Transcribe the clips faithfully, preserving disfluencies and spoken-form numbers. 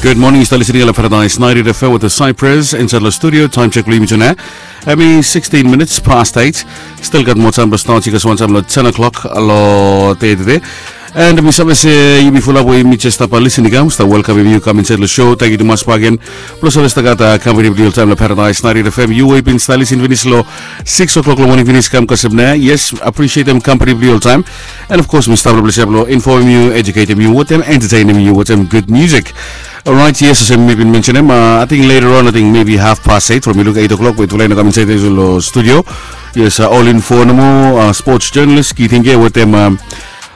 Good morning, yu stap listening long Paradise ninety F M with the Cypress inside long studio. Time check long yumi tude. Hemi sixteen minutes past eight. Still gat moa taem blong start, yu gat wan taem long ten o'clock long dei tude. And mi save se yumi fulap we yumi jes stap listening i kam, stap welkamem yu kam insait long show. Tangkiu tumas bakegen blong save stap gat kampani blong yu oltaem long Paradise ninety F M. Yu we yu bin stap listening finis long six o'clock long moning finis kam kasem nao. Yes, appreciatem kampani blong yu oltaem. And of course mi stap long ples ya blong infomem yu, educatem yu wetem, entertainem yu wetem good music. Alright, yes, olsem mi bin mensenem, ating later on, ating maybe half past eight from yu luk eight o'clock we tufala i no kam insait long studio. Yes, ol info nomo, sports journalist Kitinge wetem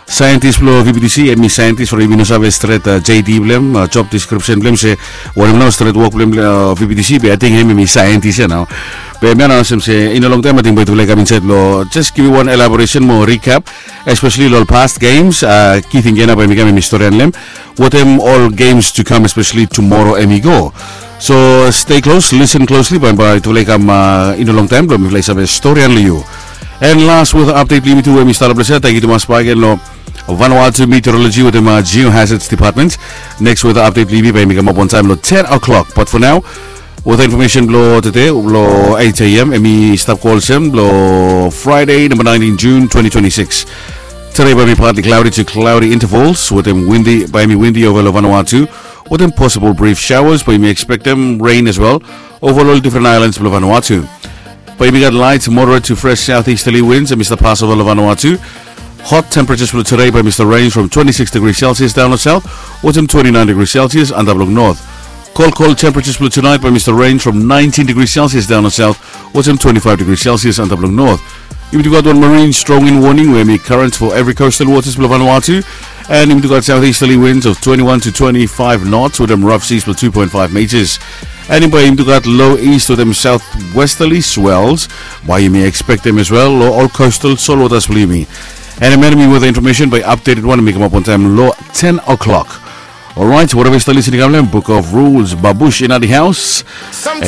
scientist blong V B T C. Hemi scientist from, yumi no save stret J D blong hem, job description blong hem, se wanem nao stret wok blong hem long V B T C, be ating hemi scientist ya nao. Be hemia nao olsem se i no longtaem ating bae tufala i kam insait long jes givim wan elaboration mo recap, especially long ol past games. Kitinge nao bae hemi kam, hemi storian long hem wetem ol games to come, especially tomorrow hemi go. So stay close, listen closely, bae bae tufala i kam, i no longtaem blong mifala i save storian long yu. And last weather update blong yumi tu we mi stap long ples ya. Tangkiu tumas bakegen long Vanuatu Meteorology wetem Geohazards Department. Next weather update blong yumi bae hemi kamap on time long ten o'clock. But for now, weather information blong tude long eight a.m. hemi stap go olsem blong Friday, number nineteen June twenty twenty-six. Tude bae hemi partly cloudy to cloudy intervals wetem windy, bae hemi windy ova long Vanuatu wetem possible brief showers, bae yumi expectem rain as well ova long ol different islands blong Vanuatu. Bae yumi gat light, moderate to fresh southeasterly winds hemi stap pas ova long Vanuatu. Hot temperatures blong tude bae hemi stap range from twenty-six degrees Celsius daon long south wetem twenty-nine degrees Celsius antap long north. Cold, cold temperatures blong tonight bae hemi stap range from nineteen degrees Celsius daon long south wetem twenty-five degrees Celsius antap long north. Yumi tu gat wan marine strong wind warning we hemi current for every coastal waters blong Vanuatu. And yumi tu gat southeasterly winds of twenty-one to twenty-five knots wetem rough seas blong two point five meters. And bae yumi tu gat low east wetem southwesterly swells, bae yumi expectem as well long ol coastal salt waters blong yumi. And hemia hemi weather information bae updated wan hemi kamap on time long ten o'clock. Alright, whatever yu stap listening i kam long hem, Book of Rules, Babush in the house. And